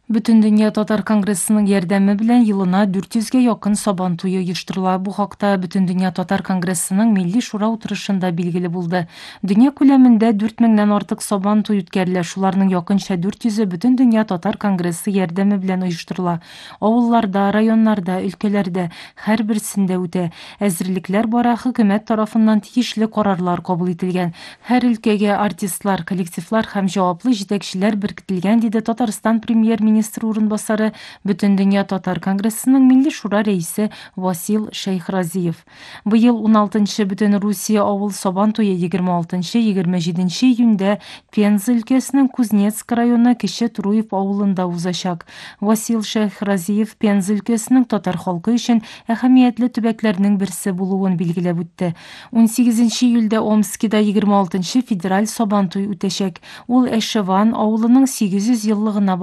Бүтүн дүйнө татар конгрессинин жардамы менен жылына 400ге жакын собон тою уюштурулат. Бу хакта Бүтүн дүйнө татар конгрессинин Милли шура отурушунда белгилүү болду. Дүйнө көлөмүндө 4000ден артык собон той өткөрүлөт. Шулардын жакынча 400-ü Бүтүн дүйнө татар конгресси жардамы менен уюштурулат. Овулларда, райондордо, өлкөлөрдө ар бирсинде өтө. Азирликтер бара өкмөт тарафынан тийишлүү карарлар кабыл этилген. Ар өлкөгө артистлер, коллективлер һәм жауаплы жетекчилер биркитилген, — деди Татарстан премьер-министр орунбасары, Бүтүн дүйнө татар конгрессинин Милли шура рейиси Васил Шейхразиев. Быйыл 16-чы Бүтүн Русия овул собон тою 26-27 июнда Пенза өлкөсүнүн Кузнецк району Кичи Туруев овулунда узашат. Васил Шейхразиев Пенза өлкөсүнүн татар халкы үчүн ахамиятлүү түбөклөрүнүн бирси болуун белгилеп өттү. 18 июлда Омскида 26-чы федераль собон той өтөшөт. Ул Эшеван овулунун 800 жылдыгына